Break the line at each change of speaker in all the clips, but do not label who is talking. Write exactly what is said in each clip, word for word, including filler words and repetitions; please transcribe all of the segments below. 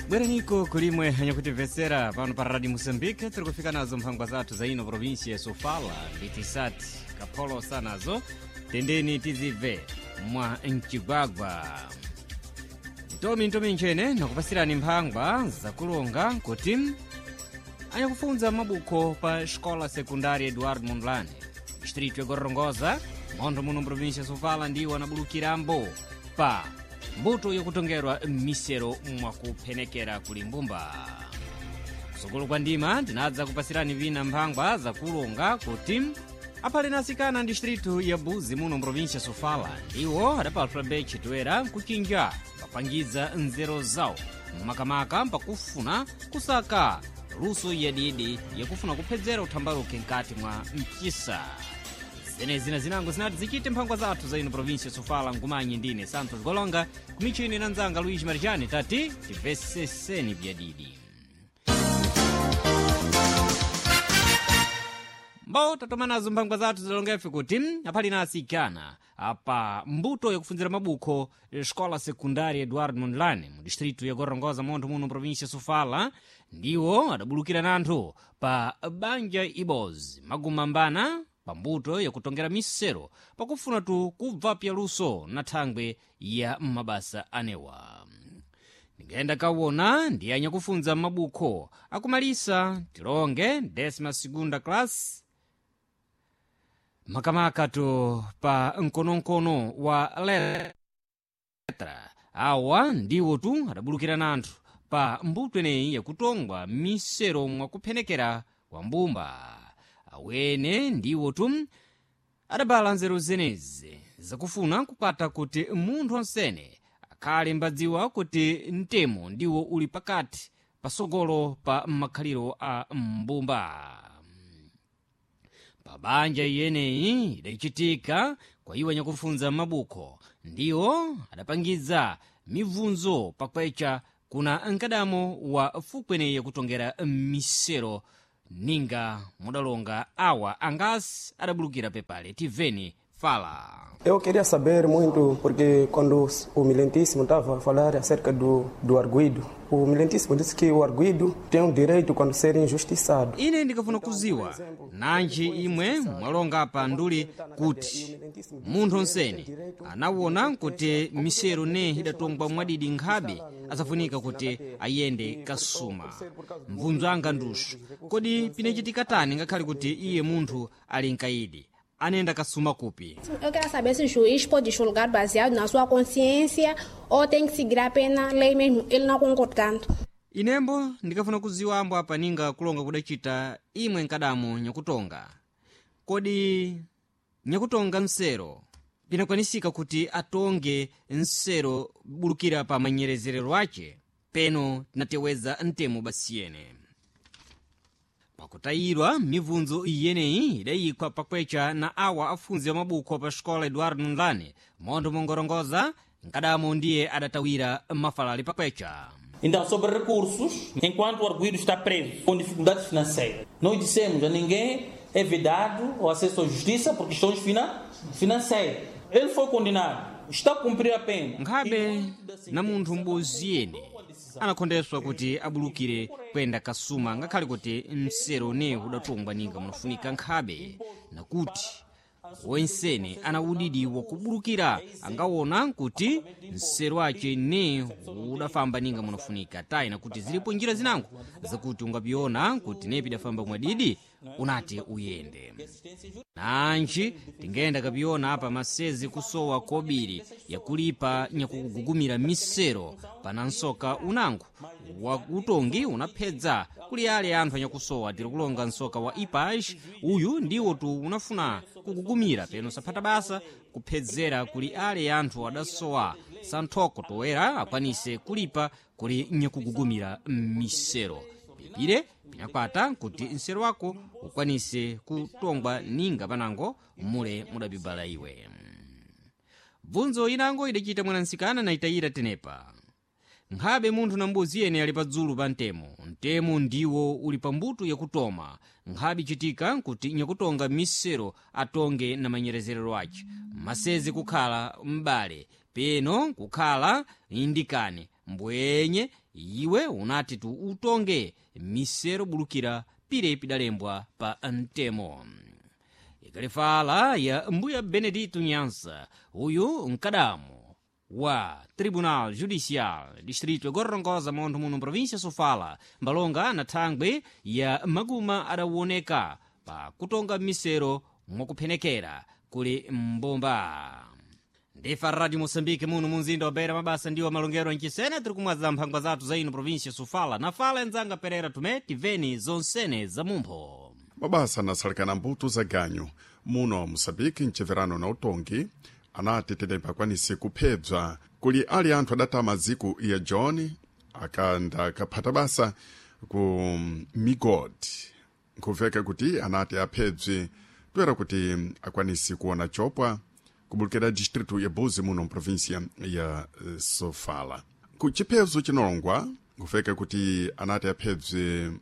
Bweraniko kulimwe anyakutimvetsera pano pa Radio Moçambique, tiri kufika nazo mphangwa zathu za ino província ya Sofala, Vitisati, Kapholosa nazo tendeni tizibve mwa mcigwagwa. Ntomi ntomi nchene nakupasirani mphangwa zakulonga kuti anyakufunza mabukho pa Escola Secundária Eduardo Mondlane, distrito ya Gorongosa, montho muno província ya Sofala, ndiwo anabulukirambo pa mbuto yokutongerwa m'misero mwakuphenekera kuli mbumba. Kusukulu kwa ndima tinadza kupasirani vina mphangwa zakulonga kuti aphale na asikana distritu ya Buzi muno mprovinsia Sofala ndiwo adapatula betche toera nkuchinja papangiza nzeru zawo makamaka mpakufuna kusaka luso yadidi yakufuna kuphedzera uthambaluke mkati mwa mchisa. Zenezi na zinango zinati zichite mphangwa zathu za ino província Sofala. Nkumanyi ndine Santos Golonga, kumichini na nzanga Luiz Marijani, tati timveseseni vyadidi. Mbo tatoma nazo mphangwa zathu zilongefe kuti aphali na asikana apa mbuto yakufunzira mabukho Escola Secundária Eduardo Mondlane mu distrito ya Gorongosa, montho muno província Sofala, ndiwo adabulukira nanthu pa banja ibozi magumambana pambuto yakutongera misero pakufuna tu kubva pyaluso na thangwe ya mabasa anewa. Ndingayenda kawona ndi anyakufunza mabukho akumalisa tilonge décima segunda classe makamaka tu pa mkonomkono wa letra. Awa ndiwo tu adabulukira nanthu pa mbuto eneyi yakutongwa misero mwakuphenekera kwa mbumba. Awene ndiwo tu adabala nzeru zenezi zakufuna kukwata kuti munthu onsene akhale mbadziwa kuti mtemo ndiwo uli pakati pasogolo pa makhaliro a mbumba. Pabanja iyeneyi idachitika kwa iwo anyakufunza mabukho ndiwo adapangiza mibvunzo pakwecha kuna mkadamo wa fukweneyi yakutongera misero ninga mudalonga awa angasi adabulukira pepale. Tiveni fala.
Eu queria saber muito, porque quando o Milentíssimo estava a falar acerca do, do arguido, o Milentíssimo disse que o arguido tem o direito quando ser injustiçado.
Ine ndikafuna kuziwa nanji imwe mwalonga pa nduli kuti munthu onsene anawona kuti misero ne idatongwa mwadidi nkhabe asafunika kuti ayende kasuma. Mvunzo anga ndusu, kodi pinachitika tani ngakhale kuti iye munthu ali mkaidi anenda kasuma kupi?
Eu quero saber se o juiz pode julgar baseado na sua consciência ou tem que seguir apenas a lei mesmo, ele não concordando.
Inembo ndikafuna kuziwa ambo apa ninga kulonga kudachita imwe nkadamo nyakutonga. Kodi nyakutonga msero pinakwanisika kuti atonge msero bulukira pa manyerezerero ace? Peno tinateweza mtemo basiyene. Pakutayirwa mibvunzo iyeneyi idayikwa pakwecha na awa afunzi amabukho pa xikola Eduardo Mondlane montho mongorongoza, nkadamo ndiye adatawira mafalali pakwecha.
Então, sobre recursos, enquanto o arguido está preso com dificuldades financeiras, nós dissemos a ninguém é vedado o acesso à justiça por questões fina financeiras. Ele foi condenado, está a cumprir a pena.
Nkhabe na munthu m'bodzi yene anakhondeswa kuti abulukire kuyenda kasuma ngakhale kuti msero ne udatongwa ninga munafunika, nkhabe nakuti wensene ana udidi wakubulukira angawona kuti msero ace ne udafamba ninga munafunika tayi, nakuti zilipo njira zinango zakuti ungapiona kuti ne pidafamba mwadidi unati uyende. Nanji tingenda kapiona apa masezi kusowa kobiri yakulipa nyakugugumira misero pana nsoka unango wa utongi unaphedza kuli ale anthu anyakusowa. Tiri kulonga nsoka wa ipaj, uyu ndiwo tu unafuna kugugumira peno saphata basa kuphedzera kuli ale anthu adasowa santhoko toera akwanise kulipa kuli nyakugugumira misero. Pipire pinakwata kuti msero wako ukwanise kutongwa ninga panango mule mudabibala iwe. Bvunzo inango idachita mwanansikana na itayira tenepa. Nkhabe munthu na mbuzi yene ali padzulu pa mtemo, mtemo ndiwo uli pa mbuto yakutoma, nkhabe ichitika kuti nyakutonga misero atonge na manyerezerero ace masezi kukhala m'bale peno kukhala indikane Mbwenye iwe unati tu utonge misero bulukira pire pidalembwa pa mtemo. Ikalifala ya mbuya Benedito Nyansa, uyu mkadamo wa Tribunal Judicial Distrito gorongoza montho muno província Sofala, mbalonga na thangwi ya maguma adawoneka pa kutonga misero mwakuphenekera kuli mbomba. Ndifa Radio Moçambique muno munzinda wa Beira, mabasa ndiwo malongero ancisene tiri kumwaza mphangwa zathu za ino província Sofala na fala enzanga Perera Tume tiveni zonsene za mumpho.
Mabasa anasalikana mbuto za ganyu muno Moçambique mcheverano na utongi anati tetempa akwanise kuphebza kuli ali anthu adatama ziku ya John akanda akaphata basa ku migodi. Nkuveka kuti anati aphebze toera kuti akwanise kuona chopwa kubulukira distrito ya Buzi muno mprovíncia ya Sofala. Ku chiphezo chinolongwa nkuveka kuti anati aphebze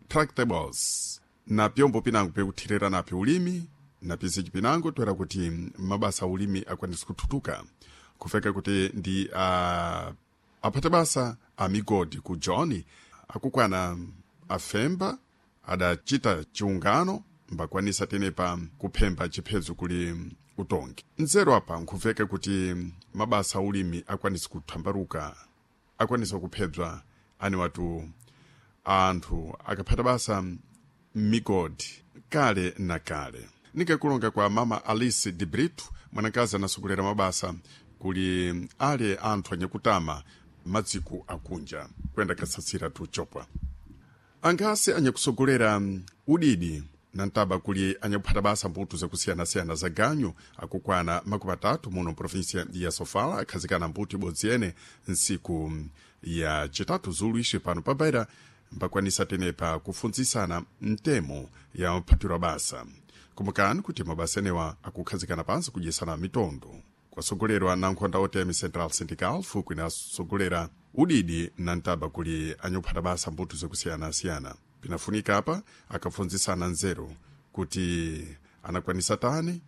tractables na pyombo pinango pekuthirira napyo ulimi na pizichi pinango toera kuti mabasa a ulimi akwanise kuthutuka. Kufeka kuti ndi uh, aphata basa a migodi ku John akukwana afemba adachita chiungano mbakwanisa tenepa kuphemba chiphezo kuli utongi. Nzeru apa nkuveka kuti mabasa a ulimi akwanise kuthambaruka, akwanisa kuphebza ani watu anthu akaphata basa migodi kale na kale. Nikakulonga kwa mama Alice de Brito, mwanakazi anasogolera mabasa kuli ale anthu anyakutama madziku akunja kuyenda kasatsira tuchopwa. Angasi anyakusogolera udidi na ntaba kuli anyakuphata basa mbuto zakusiyanasiyana za ganyu akukwana makumi atatu muno mprovíncia ya Sofala akhazikana mbuto ibodzi yene ntsiku ya chitatu zulu ixi pano pa Beira mbakwanisa tenepa kufunzisana mtemo ya maphatiro basa. Kumbukani kuti mabasa enewa akukhazikana pansi kudyesana mitondo kwasogolerwa na nkhonda otm Central Syndical fuku inasogolera udidi na ntaba kuli anyakuphata basa mbuto zakusiyanasiyana. Pinafunika apa akafunzisana nzeru kuti anakwanisa tani